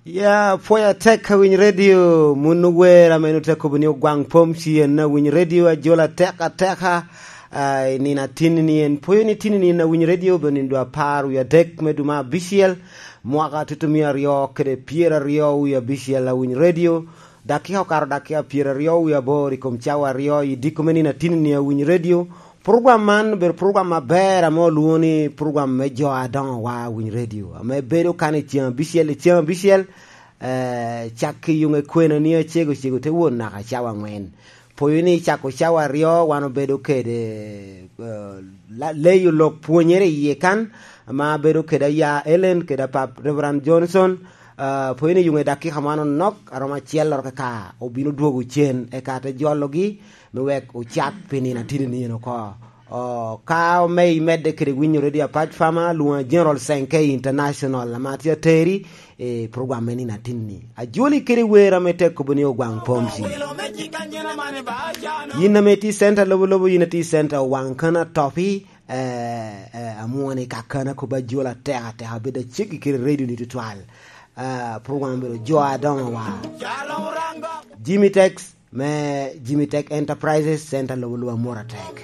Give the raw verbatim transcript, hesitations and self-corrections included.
Ya, pwoyo atek awiny redio, mun ower ame nu te kobo ni ogwaŋ pom ci en awiny redio, ajola atek ateka, ah, i nino atinni ni en. Pwoyo ni tinni ni en awiny redio, obedo nino dwe apar wie adek me dwe me abicel, mwaka tutumia aryo kede pyeraryo wie abicel awiny redio, dakika okato dakika pyeraryo wie aboro i kom cawa aryo, i diko me nino atinni ni awiny redio. Program man obedo program aber ame olwoŋo ni program me jo adoŋo wa awiny redio, ame bedo kan i ceŋ abicel, i ceŋ abicel, eh, cak i yuŋe kwena ni acego cego te won naka cawa angwen. Pwoyo ni cako cawa aryo wan obedo kede, eh, la-, leyo lok pwonyere iye kan, ma bedo kede aya Ellen, kede apap Reverend Johnson. Ah, pwoyo ni yuŋe dakika man onok, aromo acel loro kaka obino dwogo cen, eka te jologi, me wek ocak pi nino atidi ni en oko. Oh, ka ome imedde kede winyo redio apac pama, lwoŋa General Senke International, ama tye ateri, eh, program me nino atinni. Ajoli kede wer ame tek kobo ni ogwaŋ pom ci. Yin ame tye i center lobo lobo, yin atye i center owaŋ kana topi, eh, eh, amwone ka kana kobo ajola teka teka, bedo aceggi kede redio ni tutwal. Eh, program obedo jo adoŋo wa. Jimmy Tex, me Jimmy Tech Enterprises, center lobo lobo amwora tek.